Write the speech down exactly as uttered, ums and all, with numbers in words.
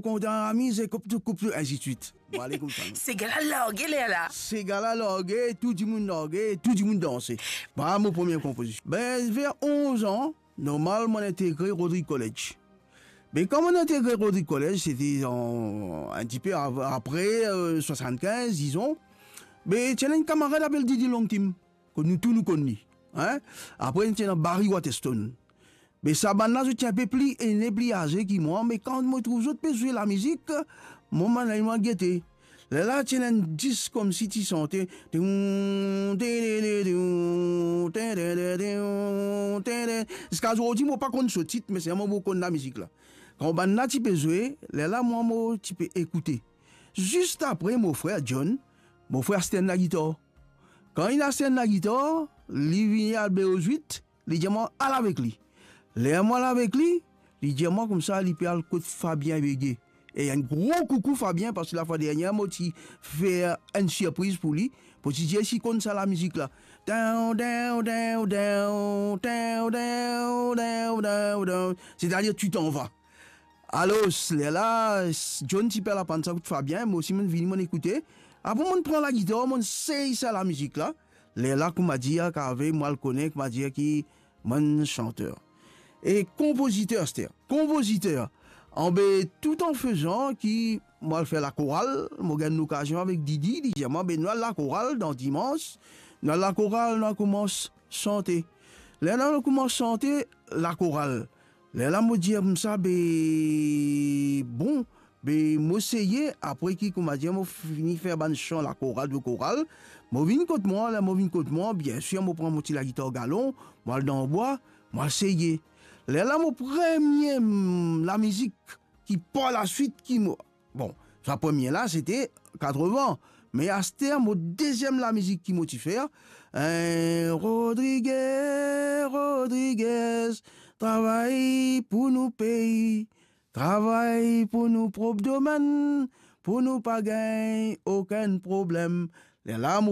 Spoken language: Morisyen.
mo kontan amize, koup tou, koup tou, ainsi de suite. Mo ale koumsa. Sega la large lerla. Sega la large, tou dimoun large, tou dimoun danse. Vwala mo premie konpozision. Ben, ver onz an, normal, mo integre Rodrigues College. Me kan mo integre Rodrigues College, se te an, enn tipe av-, apre, euh, swasannkinz, dizon. Me ti ena enn kamarad apel Didi Longtim, kot nou tou nou konn li. Hein? Apre, ti ena Barry Waterston. Me sa bann la, zot ti inpe pli ene, pli aze ki mwa, me kan mo trouv zot pe zwe lamizik, mo, mo al gete. Lerla ti ena enn disk koumsi ti sante, toum, tedede, toum, tedede, toum, tedede. Ziska zordi, mo pa konn so tit, me selman mo konn lamizik la. Kan bann la ti pe zwe, lerla mwa mo ti pe ekoute. Zis apre, mo frer John, mo frer aste enn lagitar. Kan li aste enn lagitar, li vini al Bero Zwit, li dir mwa al avek li. Ler mo al avek li, li dir mwa koumsa li pe al kot Fabien Béguet. E enn gro koukou Fabien, parski lafwa dernie mo ti fer enn sirpriz pou li, pou ti dir si konn sa lamizik la. Down, down, down, down, down, down, down, down, down. Setadir, tu t'en vas. Alor, lerla, John ti pe al aprann sa kot Fabien, mo osi mo'nn vini, mo'nn ekoute. Apre mo'nn pran lagitar, mo'nn sey sa lamizik la. Lerla, kouma dir, kave, mo al kone, kouma dir, ki mo'nn santer e konpoziter, aster. Konpoziter. Anbe, tout an fezan ki mo al fer lakoral, mo gagn lokazion avek Didi, li dir mwa, be nou al lakoral dan dimans, nou al lakoral, nou al koumans sante. Lerla nou koumans sante lakoral. Lerla mo dir koumsa, be, bon, be, mo seye, apre ki, kouma dir, mo fini fer bann san lakoral, lakoral, mo vinn kot mwa, ler mo vinn kot mwa, biensir, mo pran mo ti lagitar galon, mo al dan bwa, mo al seye. Lerla mo premie, mm, lamizik ki par laswit ki mo, bon, sa premie la, se te katreven. Me aster, mo deziem lamizik ki mo ti fer, eh, Rodrigues, Rodrigues, travay pou nou pei, travay pou nou prop domenn, pou nou pa gagn okenn problem. Lerla mo